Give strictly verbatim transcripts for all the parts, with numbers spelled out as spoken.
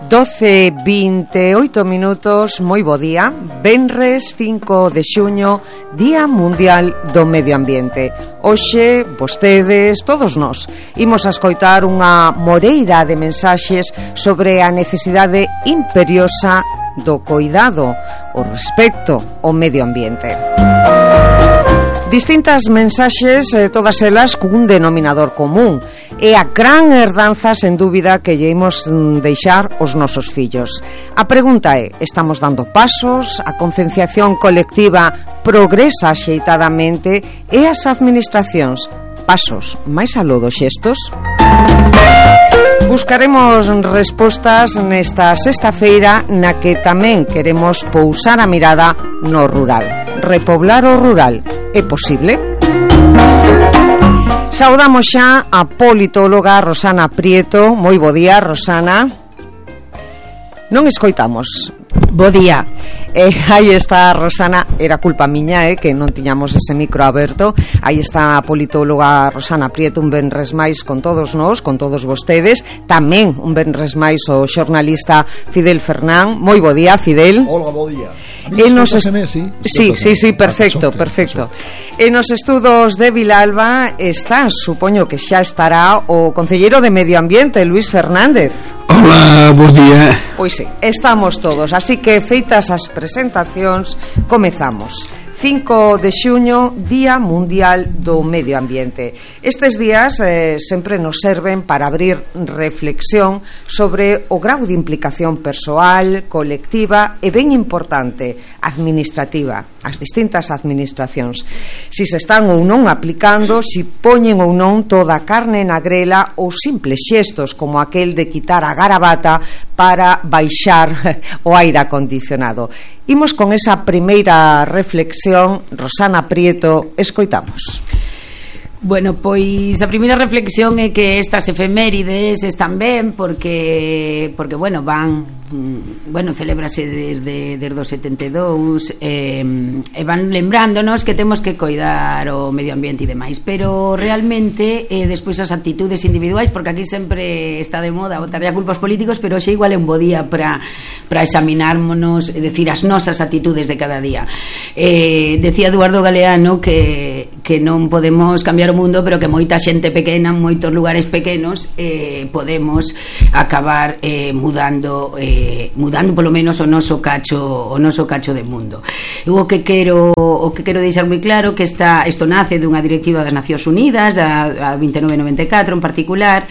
doce e vinte e oito minutos, moi bo día. Venres cinco de xuño, Día Mundial do Medio Ambiente. Hoxe, vostedes, todos nós, imos a escoitar unha moreira de mensaxes sobre a necesidade imperiosa do coidado, o respecto ao medio ambiente. Distintas mensaxes, eh, todas elas cun denominador común. É a gran herdanza, sen dúbida, que lle imos deixar os nosos fillos. A pregunta é, estamos dando pasos? A concienciación colectiva progresa axeitadamente? E as administracións, pasos máis aló dos xestos? Buscaremos respostas nesta sexta-feira, na que tamén queremos pousar a mirada no rural. Repoblar o rural é posible? Saudamos xa a politóloga Rosana Prieto. Moi bo día, Rosana. Non escoitamos. Bo día. Eh, aí está Rosana, era culpa miña, eh, que non tiñamos ese micro aberto. Aí está a politóloga Rosana Prieto, un venres máis con todos nós, con todos vostedes. Tamén un venres máis o xornalista Fidel Fernán. Moi bo día, Fidel. Hola, bo día. E nos est... sí, sí, sí, sí, perfecto, perfecto. En nos estudos de Vilalba está, supoño que xa estará o concelleiro de Medio Ambiente, Luis Fernández. Hola, bo día. Pois sí, estamos todos, así que feitas as presentacións, comezamos. cinco de xuño, Día Mundial do Medio Ambiente. Estes días eh, sempre nos serven para abrir reflexión sobre o grau de implicación persoal, colectiva e, ben importante, administrativa, as distintas administracións. Si se están ou non aplicando, si poñen ou non toda a carne na grela ou simples xestos como aquel de quitar a garabata para baixar o aire acondicionado. Imos con esa primeira reflexión. Rosana Prieto, escoitamos. Bueno, pois a primeira reflexión é que estas efemérides están ben porque, porque bueno, van bueno, celébrase desde, desde o setenta e dous eh, e van lembrándonos que temos que coidar o medio ambiente e demais, pero realmente eh, despois as actitudes individuais, porque aquí sempre está de moda botarlle a culpa aos políticos, pero xe igual é un bo día para para examinármonos, é dicir, as nosas actitudes de cada día. Eh, decía Eduardo Galeano que, que non podemos cambiar o mundo, pero que moita xente pequena en moitos lugares pequenos eh, podemos acabar eh, mudando eh, mudando polo menos o noso cacho o noso cacho de mundo. Eu o que quero o que quero deixar moi claro que esta isto nace dunha directiva das Nacións Unidas, a, a vinte e nove noventa e catro en particular,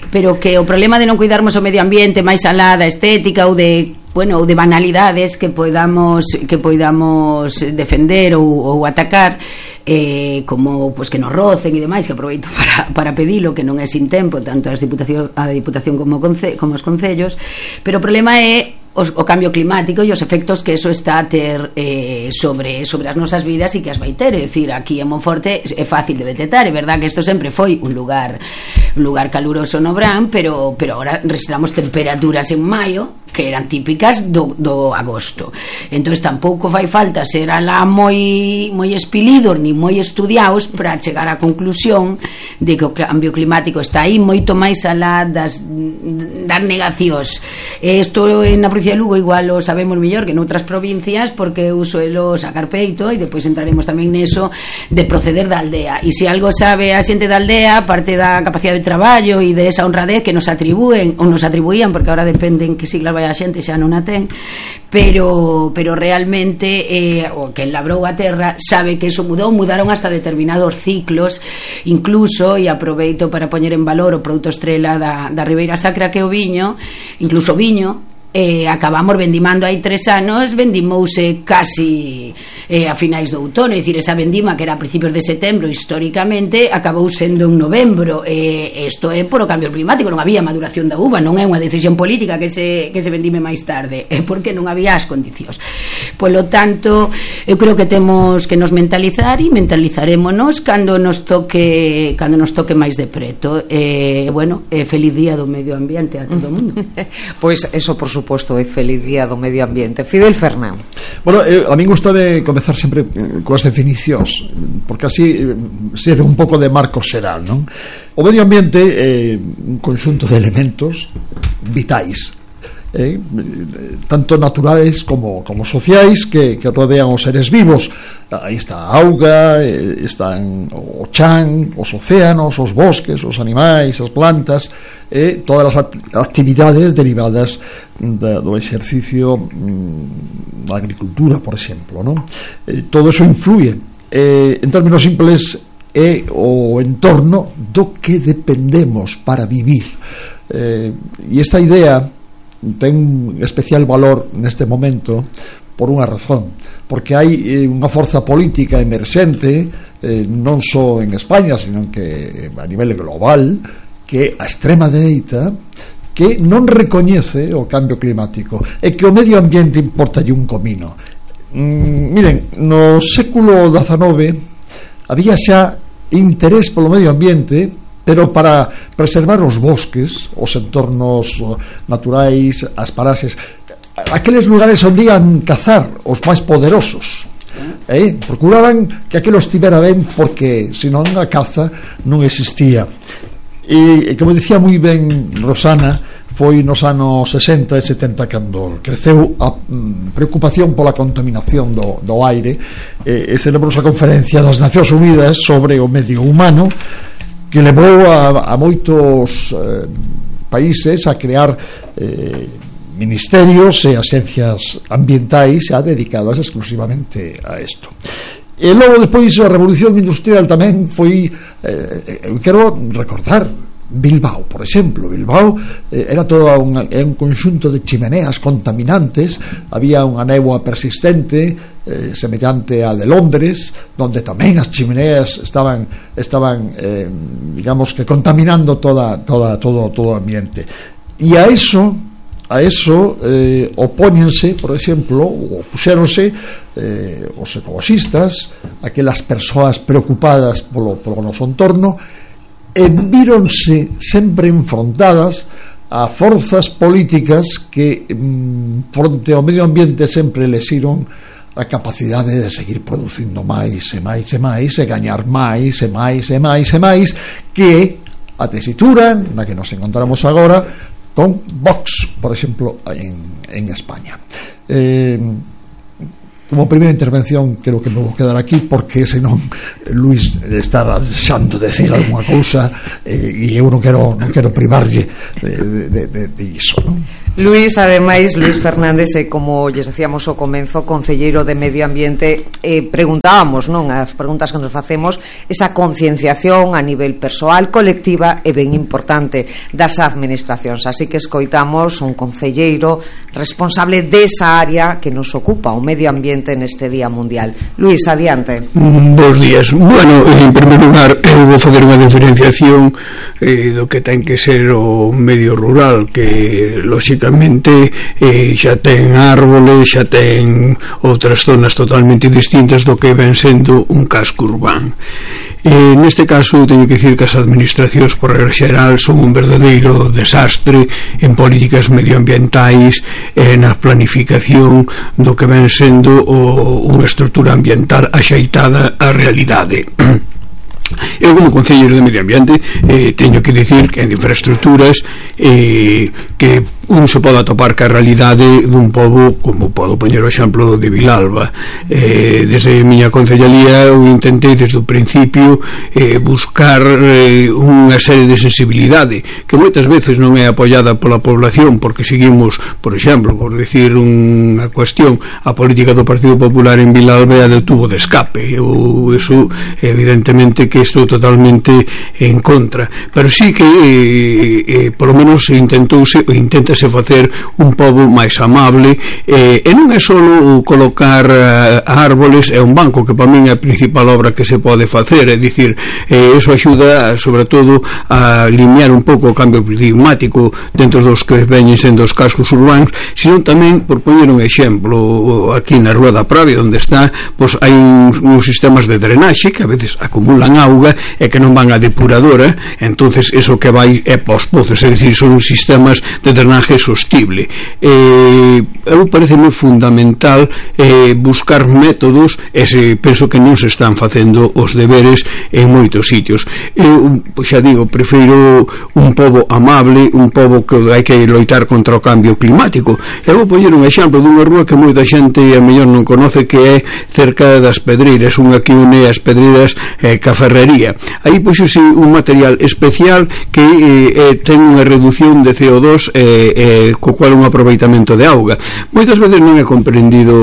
pero que o problema de non cuidarmos o medio ambiente máis alá da estética ou de bueno, ou de banalidades que podamos que podamos defender ou, ou atacar, eh, como pues, que nos rocen e demais, que aproveito para, para pedilo, que non é sin tempo tanto as diputación, a Diputación como, conce, como os concellos, pero o problema é os, o cambio climático e os efectos que eso está a ter eh, sobre, sobre as nosas vidas e que as vai ter. É dicir, aquí en Monforte é fácil de detectar, é verdad que isto sempre foi un lugar un lugar caluroso no verán, pero, pero agora registramos temperaturas en maio que eran típicas do, do agosto. Entón tampouco fai falta ser alá moi moi espilidos ni moi estudiados para chegar á conclusión de que o cambio climático está aí moito máis alá das, das negacións. Isto na provincia de Lugo igual o sabemos mellor que noutras provincias, porque eu suelo sacar peito e depois entraremos tamén neso de proceder da aldea. E se algo sabe a xente da aldea, parte da capacidade de traballo e de esa honradez que nos atribúen ou nos atribuían, porque agora depende en que siglas vai a xente, xa non a ten, pero pero realmente eh, o que labrou a terra sabe que eso mudou, mudaron hasta determinados ciclos, incluso, e aproveito para poñer en valor o produto estrela da, da Ribeira Sacra que é o viño, incluso o viño eh, acabamos vendimando hai tres anos, vendimouse casi eh, a finais do outono, é dicir, esa vendima que era a principios de setembro históricamente acabou sendo en novembro. Eh, isto é por o cambio climático, non había maduración da uva, non é unha decisión política que se, que se vendime máis tarde, é porque non había as condicións. Polo tanto, eu creo que temos que nos mentalizar e mentalizarémonos cando nos toque cando nos toque máis de preto. Eh, bueno, eh, feliz día do medio ambiente a todo o mundo. Pois eso, por suposto, é feliz día do medio ambiente. Fidel Fernán. Bueno, eh, a min gusta de comezar sempre eh, coas definicións, porque así eh, serve un pouco de marco xeral, non? O medio ambiente é eh, un conxunto de elementos vitais eh, tanto naturales como, como sociais que, que rodean os seres vivos. Aí está a auga, eh, están o chan, os océanos, os bosques, os animais, as plantas, eh, todas as actividades derivadas da, do exercicio mm, da agricultura, por exemplo, non? Eh, todo eso influye, eh, en términos simples, é o entorno do que dependemos para vivir, eh, e esta idea ten un especial valor neste momento por unha razón, porque hai eh, unha forza política emerxente, eh, non só en España, sino que a nivel global, que a extrema dereita, que non recoñece o cambio climático e que o medio ambiente importa un comino. Mm, miren, no século dezenove había xa interés polo medio ambiente, pero para preservar os bosques, os entornos naturais, as paraxes, aqueles lugares onde ian cazar os máis poderosos, eh? procuraban que aquilo estivera ben, porque senón a caza non existía. E, como dicía moi ben Rosana, foi nos anos sesenta e setenta cando creceu a mm, preocupación pola contaminación do, do aire, e, e celebrou a conferencia das Nacións Unidas sobre o medio humano, que levou a, a moitos eh, países a crear eh, ministerios e axencias ambientais xa dedicadas exclusivamente a isto. E logo, despois, a revolución industrial tamén foi, eh, eu quero recordar Bilbao, por exemplo. Bilbao eh, era todo un, un conxunto de chimeneas contaminantes, había unha néboa persistente eh, semellante a de Londres, donde tamén as chimeneas estaban estaban eh, digamos que contaminando toda, toda, todo, todo o ambiente. E a eso a eso eh, opóñense, por exemplo, ou puxéronse eh, os ecologistas, aquelas persoas preocupadas polo, polo noso entorno, e víronse sempre enfrontadas a forzas políticas que mm, fronte ao medio ambiente sempre lexiron a capacidade de seguir producindo máis e máis e máis e gañar máis e máis e máis e máis, que a tesitura na que nos encontramos agora con Vox, por exemplo, en, en España. Eh, como primeira intervención creo que me vou quedar aquí, porque senón Luis está desexando decir alguna cousa, eh, e eu non quero, non quero privarlle de, de, de, de iso, non? Luis, ademais, Luis Fernández, eh, como lles decíamos ao comenzo, concelleiro de Medio Ambiente, eh, preguntábamos, non, as preguntas que nos facemos, esa concienciación a nivel persoal, colectiva e ben importante das administracións, así que escoitamos un concelleiro responsable desa área que nos ocupa, o medio ambiente neste Día Mundial. Luis, adiante. Mm, bos días. Bueno, en primeiro lugar, eu vou fazer unha diferenciación eh, do que ten que ser o medio rural, que lóxicamente eh, xa ten árboles, xa ten outras zonas totalmente distintas do que ven sendo un casco urbano. Eh, neste caso teño que dicir que as administracións por regla xeral son un verdadeiro desastre en políticas medioambientais e na planificación do que ven sendo o, unha estrutura ambiental axeitada á realidade. Eu, como concelleiro de Medio Ambiente, eh, teño que dicir que en infraestructuras eh, que un se pode atopar ca realidade dun pobo, como podo poñer o exemplo de Vilalba. Eh, desde a miña concellería eu intentei desde o principio eh, buscar eh, unha serie de sensibilidade que moitas veces non é apoiada pola población, porque seguimos, por exemplo, por decir unha cuestión, a política do Partido Popular en Vilalba é de tubo de escape. Eu, eso, evidentemente que estou totalmente en contra, pero sí que eh, eh, por lo menos intentouse ou inténtase facer un pobo máis amable, eh, e non é só colocar eh, árboles e un banco, que para min é a principal obra que se pode facer, é dicir, eh, eso axuda sobre todo a alinear un pouco o cambio climático dentro dos que veñen sendo os cascos urbanos, sino tamén, por poñer un exemplo, aquí na Rúa da Pravia onde está, pois hai uns, uns sistemas de drenaxe que a veces acumulan auga e que non van a depuradora, entonces eso que vai é pos pozos, é dicir, son sistemas de drenaje digamos que é sostible. Eh, eu pareceme fundamental eh, buscar métodos, e se, penso que non se están facendo os deberes en moitos sitios. Eu, xa digo, prefiro un pobo amable, un pobo que hai que loitar contra o cambio climático. Eu vou poñer un exemplo dunha rúa que moita xente a mellor non conoce, que é cerca das Pedreiras, unha que une as Pedreiras eh, ca Ferrería. Aí puxose un material especial que eh, ten unha reducción de C O dos eh, eh, co cual un aproveitamento de auga. Moitas veces non é comprendido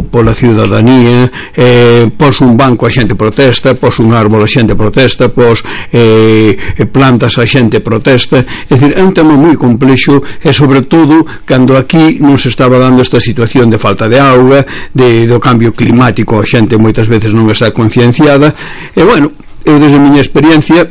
pola ciudadanía. eh, pos un banco a xente protesta, pos un árbol a xente protesta, pos eh, plantas a xente protesta. É dicir, é un tema moi complexo, e sobre todo cando aquí non se estaba dando esta situación de falta de auga, de, do cambio climático. A xente moitas veces non está concienciada. E bueno, eu desde a miña experiencia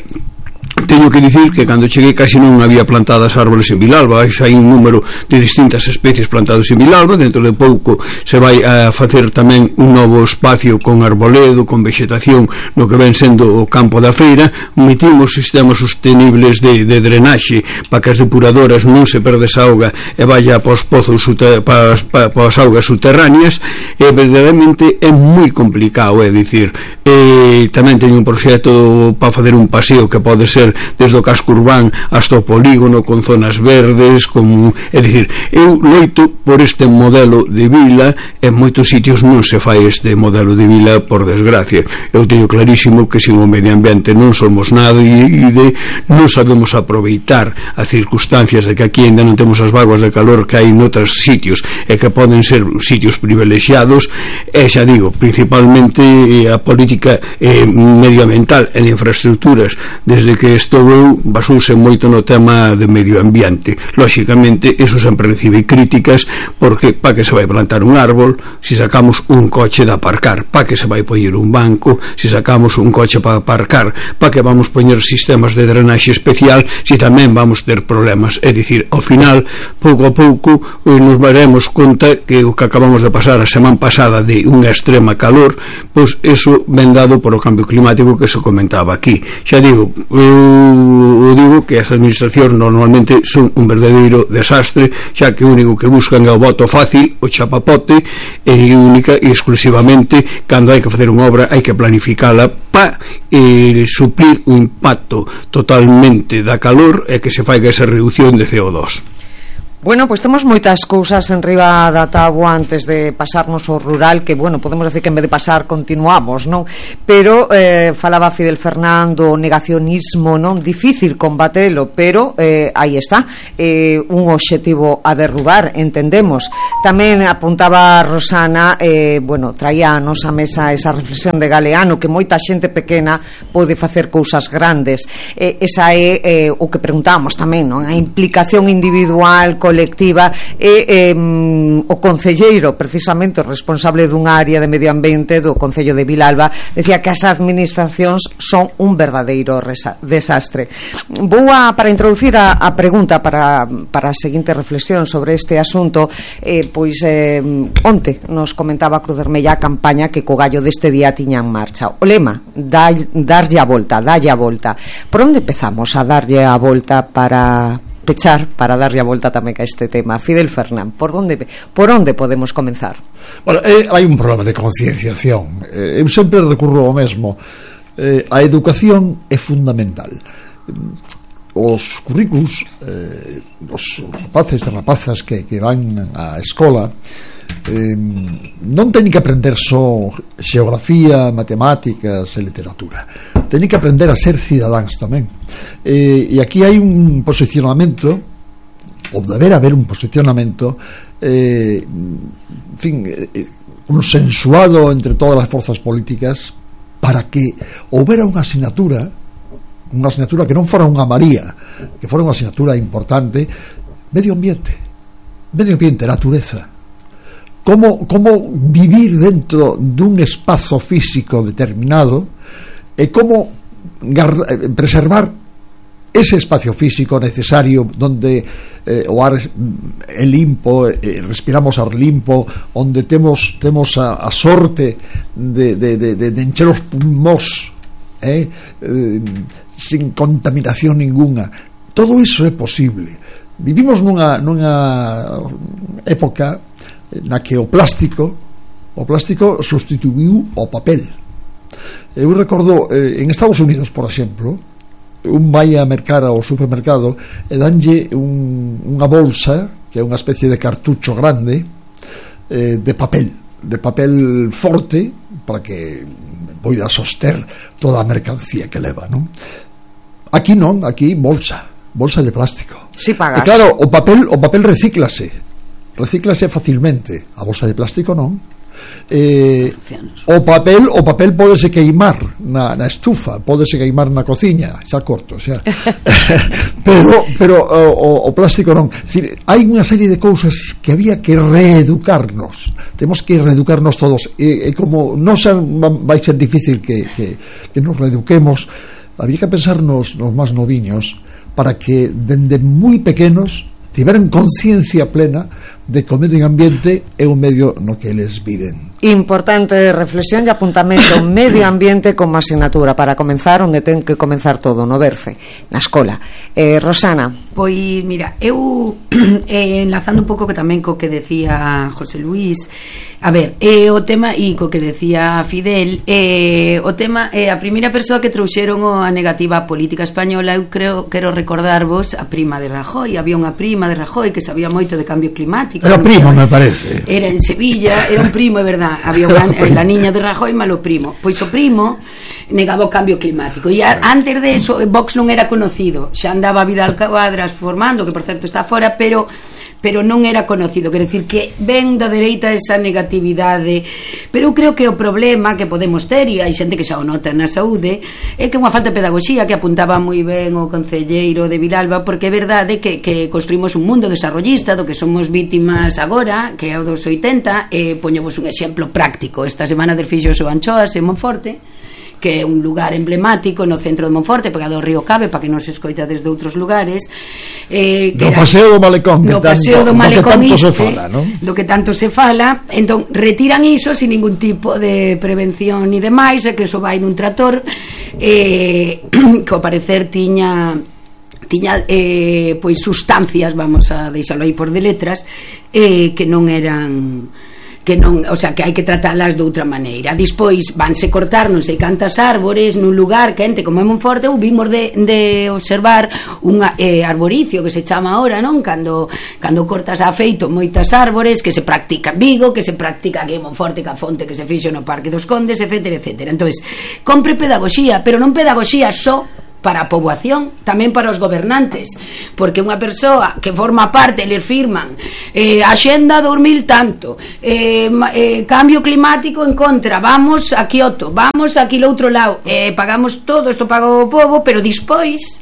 teño que dicir que cando cheguei casi non había plantadas árboles en Vilalba. Hai un número de distintas especies plantados en Vilalba. Dentro de pouco se vai a facer tamén un novo espacio con arboledo, con vegetación no que ven sendo o campo da feira. Metimos sistemas sostenibles de, de drenaxe para que as depuradoras non se perde esa auga e vaya para os pozos, para, para, para as augas subterráneas. E verdadeiramente é moi complicado, é dicir, e tamén teño un proxecto para facer un paseo que pode ser desde o casco urbán hasta o polígono, con zonas verdes, con... é dicir, eu loito por este modelo de vila. En moitos sitios non se fai este modelo de vila, por desgracia. Eu teño clarísimo que sin o medio ambiente non somos nada, e de non sabemos aproveitar as circunstancias de que aquí ainda non temos as vaguas de calor que hai noutros sitios, e que poden ser sitios privilexiados. E xa digo, principalmente a política eh, medioambiental e de infraestructuras, desde que estou eu, basouse moito no tema de medio ambiente. Lóxicamente, eso sempre recibe críticas, porque pa que se vai plantar un árbol se si sacamos un coche de aparcar, pa que se vai poñer un banco se si sacamos un coche para aparcar, pa que vamos poñer sistemas de drenaxe especial se si tamén vamos ter problemas. É dicir, ao final, pouco a pouco eh, nos daremos conta que o que acabamos de pasar a semana pasada de unha extrema calor, pois eso ven dado por o cambio climático que se comentaba aquí. Xa digo, eu digo que as administracións normalmente son un verdadeiro desastre, xa que o único que buscan é o voto fácil, o chapapote, e única e exclusivamente cando hai que facer unha obra hai que planificala para eh, suplir o impacto totalmente da calor e que se faiga esa reducción de C O dos. Bueno, pois pues temos moitas cousas en riba da táboa antes de pasarnos ao rural, que, bueno, podemos decir que en vez de pasar continuamos, non? Pero eh, falaba Fidel Fernando, o negacionismo, non? Difícil combatelo, pero eh, aí está, eh, un obxectivo a derrubar, entendemos. Tamén apuntaba Rosana, eh, bueno, traía a nosa mesa esa reflexión de Galeano, que moita xente pequena pode facer cousas grandes. Eh, esa é eh, o que preguntamos tamén, non? A implicación individual, colectiva, e eh, o concelleiro, precisamente o responsable dunha área de medio ambiente do Concello de Vilalba, decía que as administracións son un verdadeiro desastre. Vou a, para introducir a, a pregunta para, para a seguinte reflexión sobre este asunto, eh, pois eh, onte nos comentaba Cruz Vermella a campaña que co gallo deste día tiña en marcha. O lema, da, darlle a volta, dalle a volta. Por onde empezamos a darlle a volta para pechar, para darlle a volta tamén a este tema? Fidel Fernán, por onde, por onde podemos comenzar? Bueno, eh, hai un problema de concienciación. Eh, eu sempre recurro ao mesmo. Eh, a educación é fundamental. Os currículos, eh, os rapaces e rapazas que, que van á escola, eh, non teñen que aprender só xeografía, matemáticas e literatura. Teñen que aprender a ser cidadáns tamén. Eh, e aquí hai un posicionamento, ou deber haber un posicionamento, eh, en fin, eh, consensuado entre todas as forzas políticas para que houbera unha asignatura, unha asignatura que non fora unha María, que fora unha asignatura importante: medio ambiente, medio ambiente, natureza. Como, como vivir dentro dun espazo físico determinado, e como preservar ese espacio físico necesario donde eh, o ar é limpo, eh, respiramos ar limpo, onde temos temos a, a sorte de, de, de, de encher os pulmós eh, eh, sin contaminación ninguna. Todo iso é posible. vivimos nunha, nunha época na que o plástico o plástico sustituiu o papel. Eu recordo eh, en Estados Unidos, por exemplo, un vai a mercar ao supermercado e danlle un, unha bolsa que é unha especie de cartucho grande eh, de papel de papel forte para que poida soster toda a mercancía que leva, non? Aquí non, aquí bolsa bolsa de plástico. Si pagas. E claro, o papel o papel recíclase recíclase facilmente, a bolsa de plástico non. Eh, o papel o papel pódese queimar na, na estufa, pódese queimar na cociña, xa corto, xa. pero pero o, o plástico non. Decir, hai unha serie de cousas que había que reeducarnos. Temos que reeducarnos todos. E, e como non xa vai ser difícil que, que, que nos reeduquemos, habría que pensar nos, nos máis noviños para que dende moi pequenos tiveran conciencia plena de que o medio ambiente é un medio no que eles viven. Importante reflexión e apuntamento. Medio ambiente como asignatura para comenzar onde ten que comenzar todo, no berce, na escola. eh, Rosana. Pois mira, eu eh, enlazando un pouco que tamén co que decía José Luis, a ver, eh, o tema e co que decía Fidel, eh, o tema é eh, a primeira persoa que trouxeron a negativa política española. Eu creo, quero recordarvos a prima de Rajoy. Había unha prima de Rajoy que sabía moito de cambio climático. Era primo, me parece. Era en Sevilla, era un primo, é verdad. Había unha, la niña de Rajoy malo primo. Pois o primo negaba o cambio climático. E a, antes de eso, Vox non era conocido. Xa andaba Vidal Quadras formando, que por certo está fora, pero pero non era conocido. Quer decir que ven da dereita esa negatividade, pero eu creo que o problema que podemos ter, e hai xente que xa o nota na saúde, é que unha falta de pedagogía, que apuntaba moi ben o concelleiro de Vilalba, porque é verdade que, que construímos un mundo desarrollista do que somos vítimas agora, que é o dos oitenta. E poñevos un exemplo práctico. Esta semana del fixos o Anchoas en Monforte, que é un lugar emblemático no centro de Monforte, pegado ao río Cabe, para que non se escoita desde outros lugares, eh, que no era, paseo do Malecón, no que paseo tanto, do Malecón do que tanto iste, se fala, ¿no? do que tanto se fala. Entón retiran iso sin ningún tipo de prevención ni demais, e que iso vai nun trator eh, que ao parecer tiña tiña eh, pois sustancias, vamos a deixalo aí por de letras, eh, que non eran que non, o sea, que hai que tratalas de outra maneira. Despois vanse cortar non sei cantas árbores nun lugar quente como é Monforte. Ou vimos de, de observar un eh, arboricio que se chama ahora, non? Cando, cando cortas a feito moitas árbores, que se practica en Vigo, que se practica aquí en Monforte, ca fonte que se fixo no Parque dos Condes, etcétera, etcétera. Entonces, compre pedagogía, pero non pedagogía só para a poboación, tamén para os gobernantes, porque unha persoa que forma parte, eles firman eh, Axenda dos mil tanto, eh, eh, cambio climático en contra, vamos a Kioto, vamos aquí lo outro lado, eh, pagamos todo, isto paga o pobo, pero dispois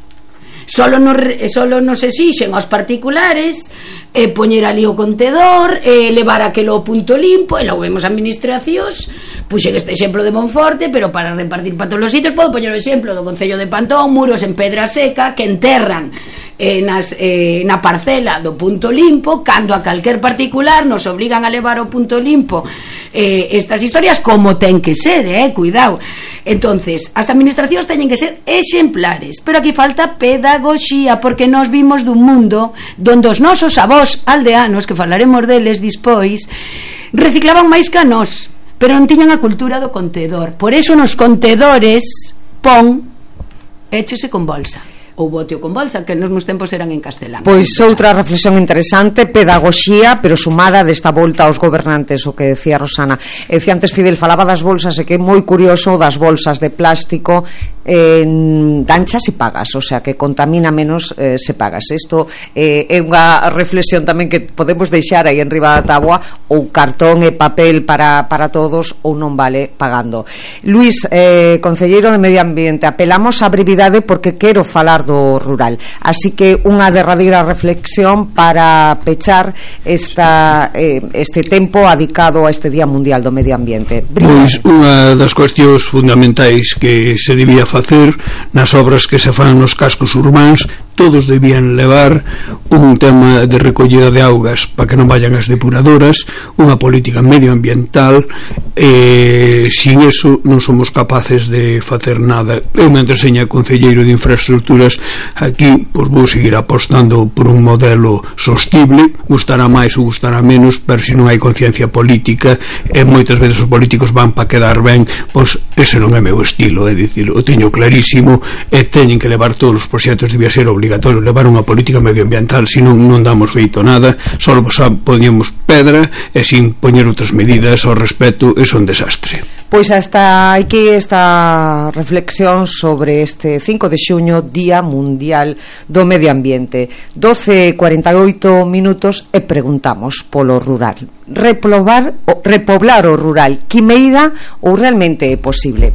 solo nos, solo nos exixen aos particulares eh, poñer ali o contedor, eh, levar aquelo punto limpo, e logo vemos administracións. Puxen este exemplo de Monforte, pero para repartir para todos os sitios podo poñer o exemplo do Concello de Pantón, muros en pedra seca que enterran eh, nas, eh, na parcela do punto limpo, cando a calquer particular nos obligan a levar o punto limpo. Eh, estas historias como ten que ser, eh, cuidado. Entonces, as administracións teñen que ser exemplares, pero aquí falta pedagogía, porque nós vimos dun mundo donde os nosos avós aldeanos, que falaremos deles despois, reciclaban máis que a nós, pero non tiñan a cultura do contedor. Por eso nos contedores pon échese con bolsa ou boteo con bolsa, que nos meus tempos eran en castelán. Pois outra reflexión interesante, pedagogía, pero sumada desta volta aos gobernantes, o que decía Rosana. E decía antes Fidel, falaba das bolsas, e que é moi curioso das bolsas de plástico, eh, danchas e pagas, o sea, que contamina menos eh, se pagas. Isto eh, é unha reflexión tamén que podemos deixar aí en riba da táboa, ou cartón e papel para, para todos, ou non vale pagando. Luís, eh, concelleiro de Medio Ambiente, apelamos á brevidade porque quero falar do rural, así que unha derradeira reflexión para pechar esta, eh, este tempo adicado a este Día Mundial do Medio Ambiente. Pois unha das cuestións fundamentais que se debía facer nas obras que se fan nos cascos urbáns. Todos debían levar un tema de recollida de augas para que non vayan as depuradoras, unha política medioambiental. Eh, sin eso non somos capaces de facer nada. Eu, mentre seña concelleiro de infraestructuras aquí, pois vou seguir apostando por un modelo sostible, gustará máis ou gustará menos, pero se non hai conciencia política, e moitas veces os políticos van para quedar ben, pois ese non é meu estilo. É dicir, o teño clarísimo, e teñen que levar todos os proxectos, debía ser obligatorio levar unha política medioambiental, senón non damos feito nada, só poñemos pedra e sin poñer outras medidas ao respecto, é un desastre. Pois hasta aquí esta reflexión sobre este cinco de xuño, Día Mundial do Medio Ambiente. doce e cuarenta e oito minutos e preguntamos polo rural. Repoblar, repoblar o rural, quimeira ou realmente é posible?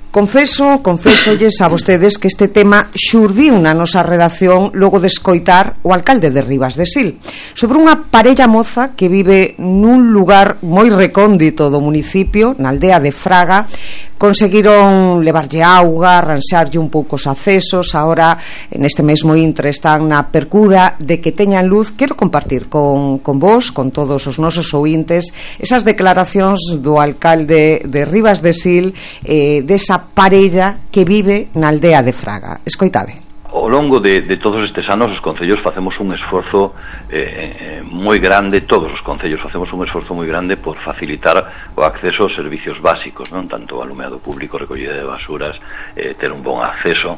Confeso, confésolles a vostedes que este tema xurdiu na nosa redacción logo de escoitar o alcalde de Ribas de Sil sobre unha parella moza que vive nun lugar moi recóndito do municipio, na aldea de Fraga. Conseguiron levarlle auga, arranxarlle un pouco os accesos. Ahora, neste mesmo intre, están na percura de que teñan luz. Quero compartir con, con vos, con todos os nosos ointes, esas declaracións do alcalde de Ribas de Sil, eh, desa parella que vive na aldea de Fraga. Escoitade. Ao longo de, de todos estes anos os concellos facemos un esforzo eh, moi grande, todos os concellos facemos un esforzo moi grande por facilitar o acceso aos servicios básicos, non tanto alumeado público, recollida de basuras, eh, ter un bon acceso,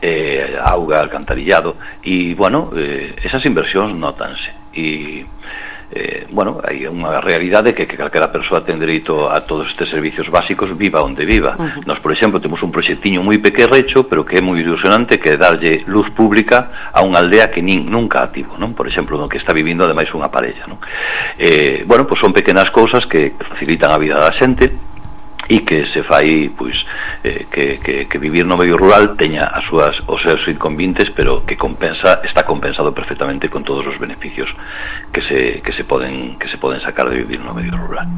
eh, auga, alcantarillado, e, bueno, eh, esas inversións nótanse, e Eh, bueno, hai unha realidade que, que calquera persoa ten dereito a todos estes servicios básicos, viva onde viva. Uh-huh. Nos, por exemplo, temos un proxectiño moi pequerrecho, pero que é moi ilusionante, que é darlle luz pública a unha aldea que nin, nunca a tivo, non? Por exemplo, no que está vivindo ademais unha parella, non? Eh, bueno, pois son pequenas cousas que facilitan a vida da xente e que se fai, pois, eh, que, que, que vivir no medio rural teña as súas, os seus inconvenientes, pero que compensa, está compensado perfectamente con todos os beneficios que se, que se poden que se poden sacar de vivir no medio rural.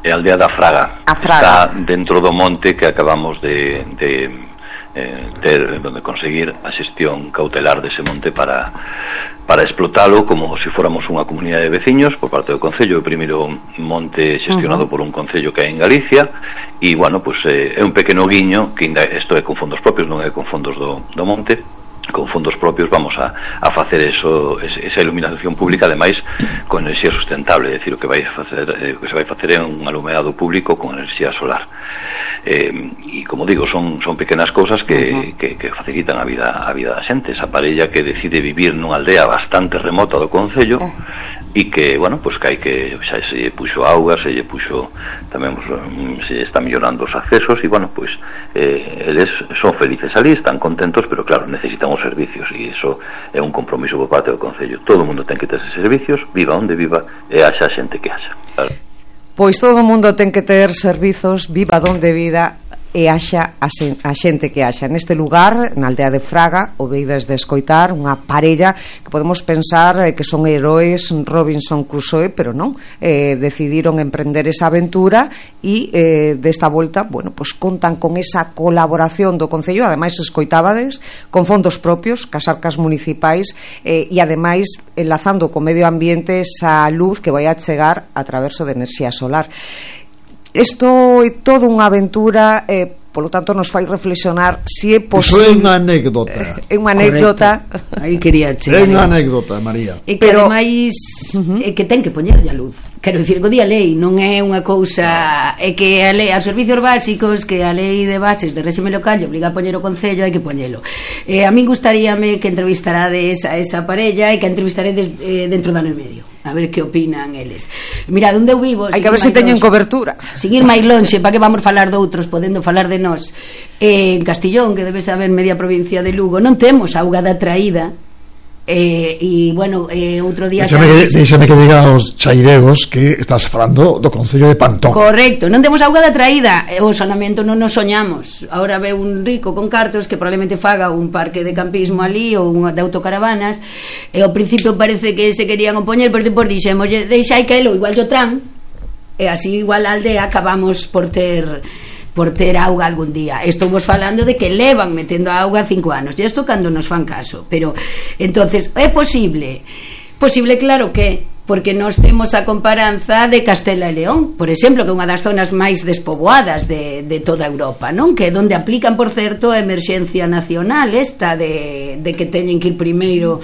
E a aldea da Fraga, Fraga está dentro do monte que acabamos de, de eh, ter, donde conseguir a xestión cautelar dese monte para para explotalo como se si fóramos unha comunidade de veciños por parte do Concello. O primeiro monte xestionado uh-huh. por un Concello que hai en Galicia, e, bueno, pues, eh, é un pequeno guiño, que ainda isto é con fondos propios, non é con fondos do, do monte. Con fondos propios vamos a, a facer eso, esa iluminación pública, ademais con enerxía sustentable, é dicir, o que vai facer, eh, o que se vai facer é un alumeado público con enerxía solar. Eh, e como digo, son, son pequenas cousas que, uh-huh. que, que facilitan a vida a vida da xente. Esa parella que decide vivir nunha aldea bastante remota do Concello, uh. e que, bueno, pois pues que hai que xa se lle puxo auga, se lle puxo tamén, pues, se está mellorando os accesos, e, bueno, pois pues, eh, eles son felices ali, están contentos, pero claro, necesitan os servicios, e iso é un compromiso por parte do Concello. Todo o mundo ten que ter esos servicios, viva onde viva, e haxa xente que haxa, claro. Pois todo o mundo ten que ter servizos, viva donde vida, e haxa a, sen, a xente que haxa. Neste lugar, na aldea de Fraga, o veides de escoitar, unha parella que podemos pensar eh, que son heróis Robinson Crusoe, pero non, eh, decidiron emprender esa aventura, e eh, desta volta, bueno, pues contan con esa colaboración do Concello, ademais escoitábades, con fondos propios, cas arcas municipais, eh, e ademais enlazando co medio ambiente esa luz que vai a chegar a través de enerxía solar. Isto é toda unha aventura, eh, polo tanto nos fai reflexionar se é posible. Iso é unha anécdota. É unha anécdota. Aí quería chegar. É unha anécdota, María. E que pero ademais uh-huh. é que ten que poñerlle a luz. Quero dicir, que o día lei non é unha cousa, é que a lei, aos servicios básicos, que a lei de bases de réxime local obriga a poñer o Concello, hai que poñelo. Eh, a min gustaríame que entrevistarades a esa parella e que entrevistaredes eh, dentro do ano e medio, a ver que opinan eles. Mira, onde eu vivo, hai que ver se teñen cobertura. Sin ir máis lonxe, para que vamos falar de outros, podendo falar de nós. Eh, en Castillón, que debe saber media provincia de Lugo, non temos auga da traída. Eh, e, bueno, eh, outro día Díxame que, díxame que diga aos chairegos que estás falando do Concello de Pantón. Correcto, non temos auga da traída, o sonamento non nos soñamos. Ahora ve un rico con cartos que probablemente faga un parque de campismo ali ou un de autocaravanas, e ao principio parece que se querían opoñer, pero depois dixemos, deixai que elo igual yo tran, e así igual a aldea acabamos por ter por ter auga algún día. Estamos falando de que levan metendo auga cinco anos, e isto cando nos fan caso. Pero entonces, é posible? Posible, claro que porque nós temos a comparanza de Castela e León, por exemplo, que é unha das zonas máis despoboadas de, de toda Europa, non? Que é onde aplican, por certo, a emerxencia nacional esta de, de que teñen que ir primeiro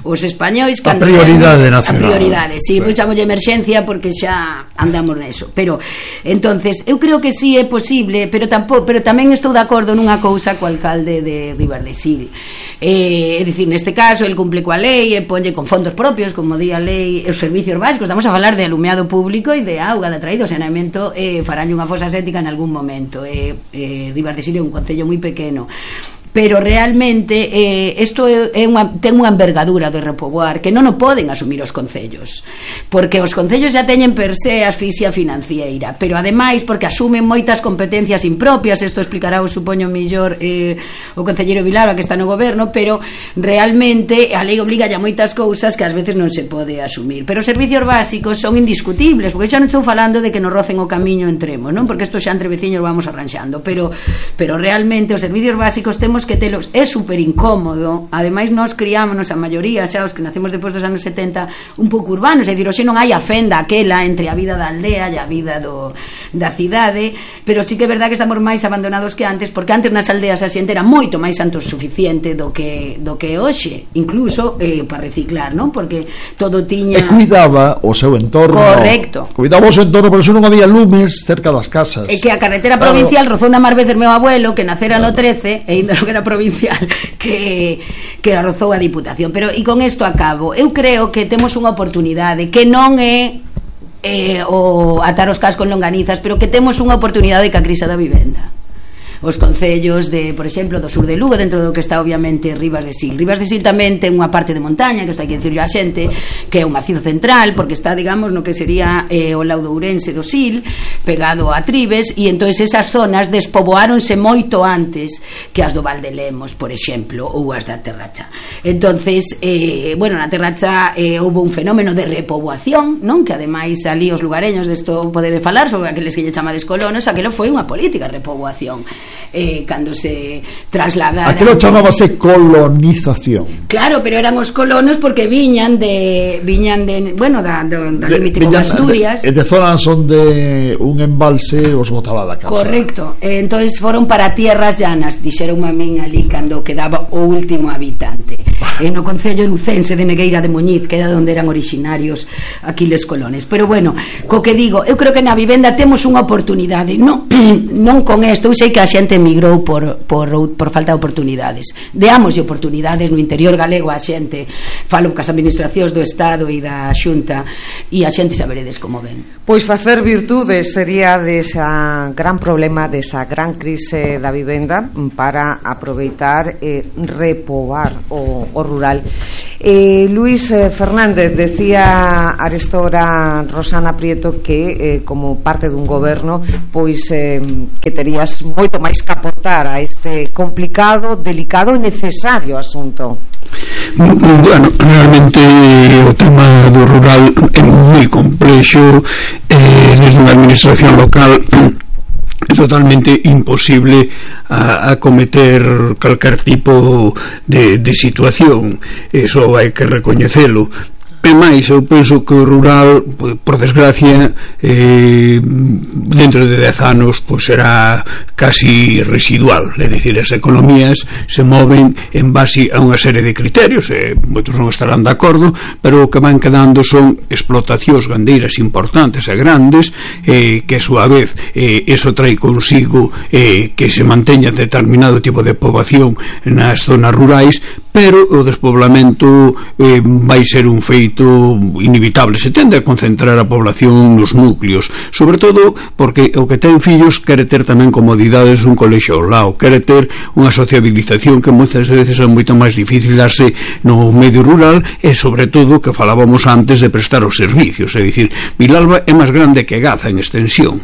os españois, a prioridade ten, nacional, a prioridade, si, sí, sí. Pois chamo de emerxencia porque xa andamos neso, pero entonces eu creo que sí é posible, pero tampouco, pero tamén estou de acordo nunha cousa co alcalde de Ribas de Sil. Eh, é dicir, neste caso el cumple coa lei e ponlle con fondos propios, como di a lei, os servicios básicos. Estamos a falar de alumeado público e de auga, de traído, saneamento, eh, faránlle unha fosa séptica en algún momento. Eh, eh, Ribas de Sil é un concello moi pequeno, pero realmente eh, isto é, é unha, ten unha envergadura de repoboar que non o poden asumir os concellos, porque os concellos já teñen per se asfixia financiera, pero ademais porque asumen moitas competencias impropias. Isto explicará o supoño millor eh, o concelleiro Vilalba, que está no goberno, pero realmente a lei obliga a moitas cousas que ás veces non se pode asumir. Pero os servicios básicos son indiscutibles, porque xa non estou falando de que nos rocen o camiño entremos, non? Porque isto xa entre veciños lo vamos arranxando, pero, pero realmente os servicios básicos temos que telos, é super incómodo. Ademais nós criámonos a maioría, xa os que nacemos depois dos anos setenta, un pouco urbanos, é dicir, hoxe non hai a fenda aquela entre a vida da aldea e a vida do, da cidade, pero sí que é verdade que estamos máis abandonados que antes, porque antes nas aldeas a xente era moito máis autosuficiente do que do que hoxe, incluso eh, para reciclar, non? Porque todo tiña... E cuidaba o seu entorno. Correcto. Cuidaba o seu entorno, por eso non había lumes cerca das casas. É que a carretera claro. provincial rozou na máis veces meu abuelo, que nacera claro. no trece, e ainda non era provincial, que, que a rozou a Diputación. Pero, e con isto acabo, eu creo que temos unha oportunidade que non é eh, o atar os cascos con longanizas, pero que temos unha oportunidade que a crise da vivenda. Os concellos de, por exemplo, do sur de Lugo, dentro do que está obviamente Ribas de Sil. Ribas de Sil tamén ten unha parte de montaña, que isto hai que dicirlo a xente, que é un macizo central, porque está, digamos, no que sería eh, o laudo ourense do Sil, pegado a Tribes, e entonces esas zonas despoboáronse moito antes que as do Val de Lemos, por exemplo, ou as da Terracha. Entonces, eh, bueno, na Terracha eh, houve un fenómeno de repoboación, non? Que ademais ali os lugareños desto poder falar sobre aqueles que lle chamades colonos, aquelo foi unha política de repoboación. Eh, cando se trasladaran, aquilo chamábase colonización. Claro, pero eran os colonos porque viñan de viñan de, bueno, da, da, da límite con Asturias, de, de zonas onde un embalse os botaba da casa. Correcto. Eh, entonces foron para tierras llanas, dixeron a min ali cando quedaba o último habitante. En o concello lucense de Negueira de Muñiz, que era onde eran originarios Aquiles colones. Pero bueno, co que digo, eu creo que na vivenda temos unha oportunidade, non, non con isto, eu sei que a xente emigrou por, por, por falta de oportunidades. Deámoslle oportunidades no interior galego a xente, falo cas administracións do Estado e da Xunta, e a xente saberedes como ven. Pois facer virtudes sería desa gran problema, desa gran crise da vivenda, para aproveitar e repobar o, o rural. Eh, Luis eh, Fernández, decía arestora Rosana Prieto que eh, como parte dun goberno pois eh, que terías moito máis que aportar a este complicado, delicado e necesario asunto. Bueno, realmente o tema do rural é moi complexo, eh, desde unha administración local é totalmente imposible a, a cometer calquer tipo de, de situación. Eso hai que recoñecelo. E máis, eu penso que o rural, por desgracia, eh, dentro de dez anos pois será casi residual, é dicir, as economías se moven en base a unha serie de criterios, e moitos non estarán de acordo, pero o que van quedando son explotacións gandeiras importantes e grandes, eh, que a súa vez eh, eso trae consigo eh, que se manteña determinado tipo de poboación nas zonas rurais, pero o despoblamento eh, vai ser un feito inevitable. Se tende a concentrar a población nos núcleos, sobre todo porque o que ten fillos quere ter tamén comodidades dun colexio ao lado, quere ter unha sociabilización que moitas veces é moito máis difícil darse no medio rural, e sobre todo que falábamos antes de prestar os servicios, é dicir, Vilalba é máis grande que Gaza en extensión.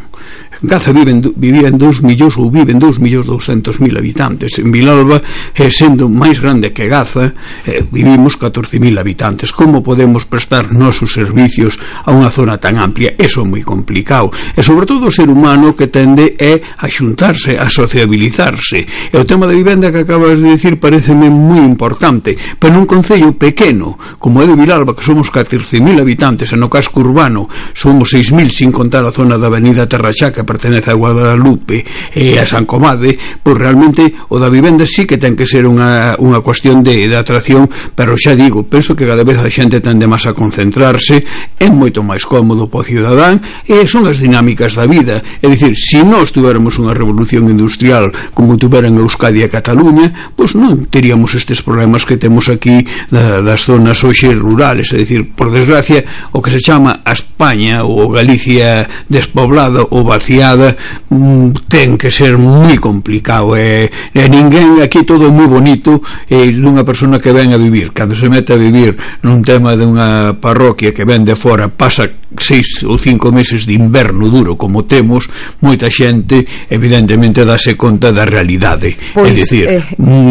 Gaza viven, vivía en dous millóns ou viven dous millóns douscentos mil habitantes. En Vilalba, eh, sendo máis grande que Gaza, eh, vivimos catorce mil habitantes. Como podemos prestar nosos servicios a unha zona tan amplia? Eso é moi complicado. E sobre todo o ser humano que tende é a xuntarse, a sociabilizarse. E o tema da vivenda que acabas de dicir pareceme moi importante, pero nun concello pequeno como é de Vilalba, que somos catorce mil habitantes, e no casco urbano somos seis mil, sin contar a zona da avenida Terraxá, que pertenece a Guadalupe e a San Comade, pois realmente o da vivenda sí que ten que ser unha, unha cuestión de, de atracción, pero xa digo, penso que cada vez a xente tende máis a concentrarse, é moito máis cómodo para o cidadán, e son as dinámicas da vida. É dicir, se nós tuveramos unha revolución industrial como tuveran Euskadi e Cataluña, pois non teríamos estes problemas que temos aquí da, das zonas hoxe rurales. É dicir, por desgracia, o que se chama a España ou Galicia despoblada ou vaciada mm, ten que ser moi complicado, e, e ninguén aquí, todo é moi bonito, e dunha persona que ven a vivir, cando se mete a vivir nun tema dunha parroquia que ven de fora, pasa seis ou cinco meses de inverno duro como temos, moita xente evidentemente dáse conta da realidade. Pois, é dicir, eh...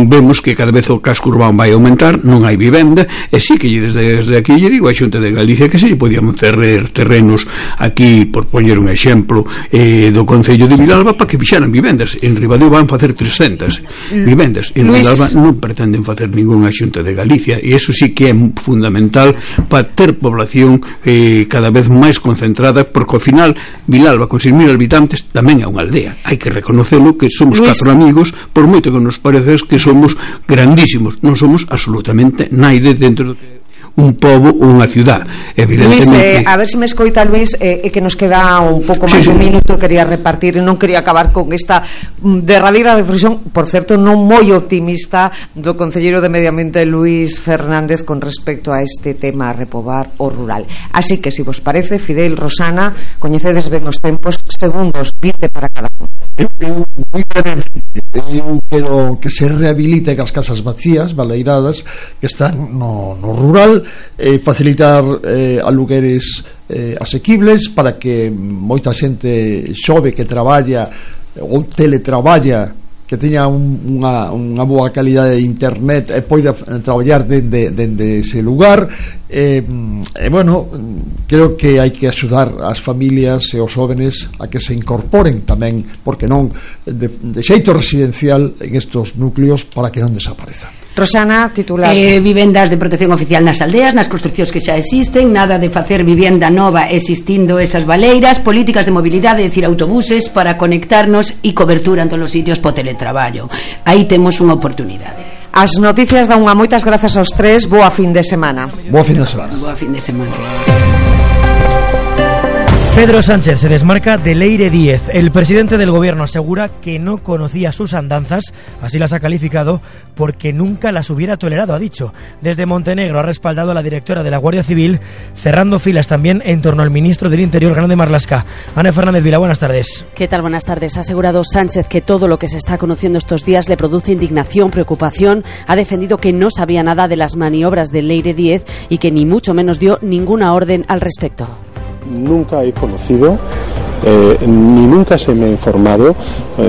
vemos que cada vez o casco urbano vai aumentar, non hai vivenda, e sí que desde, desde aquí lle digo a Xunta de Galicia que se lle podían cerrer terrenos aquí, por poñer un exemplo, eh, do Concello de Vilalba, para que fixaran vivendas. En Ribadeo van facer trescentas vivendas, en Luis... Vilalba non pretenden facer ningunha Xunta de Galicia, e iso sí que é fundamental para ter población eh, cada vez máis concentrada, porque ao final Vilalba con seis mil habitantes tamén é unha aldea, hai que reconocelo, que somos Luis... catro amigos, por moito que nos parece que somos grandísimos, non somos absolutamente naide dentro do que un pobo ou unha ciudad, evidentemente. Luis, eh, a ver se me escoita, Luis, eh, e que nos queda un pouco máis sí, un minuto, quería repartir e non quería acabar con esta derradeira reflexión, por certo, non moi optimista, do concelleiro de Medio Ambiente Luis Fernández con respecto a este tema, a repobar o rural. Así que, se vos parece, Fidel, Rosana, coñecedes ben os tempos, segundos, vinte para cada un. Eu, eu, moi brevemente, eu quero que se rehabilite as casas vacías, baleiradas, que están no, no rural, eh, facilitar eh, alugueres eh, asequibles para que moita xente xove que traballa ou teletraballa, que teña un, unha, unha boa calidade de internet e poida traballar dende, dende ese lugar. E, e bueno, creo que hai que axudar as familias e os jóvenes a que se incorporen tamén, porque non de, de xeito residencial en estos núcleos, para que non desaparezan. Rosana, titular. Eh, vivendas de protección oficial nas aldeas, nas construcións que xa existen, nada de facer vivenda nova existindo esas baleiras, políticas de mobilidade, é dicir, autobuses para conectarnos e cobertura en todos os sitios po teletraballo. Aí temos unha oportunidade. As noticias dan unha moitas grazas aos tres, boa fin de semana. Boa fin de semana. Boa fin de semana. Pedro Sánchez se desmarca de Leire Díez. El presidente del gobierno asegura que no conocía sus andanzas, así las ha calificado, porque nunca las hubiera tolerado, ha dicho. Desde Montenegro ha respaldado a la directora de la Guardia Civil, cerrando filas también en torno al ministro del Interior, Grande Marlaska. Ana Fernández Vila, buenas tardes. ¿Qué tal? Buenas tardes. Ha asegurado Sánchez que todo lo que se está conociendo estos días le produce indignación, preocupación. Ha defendido que no sabía nada de las maniobras de Leire Díez y que ni mucho menos dio ninguna orden al respecto. Nunca he conocido, eh, ni nunca se me ha informado eh,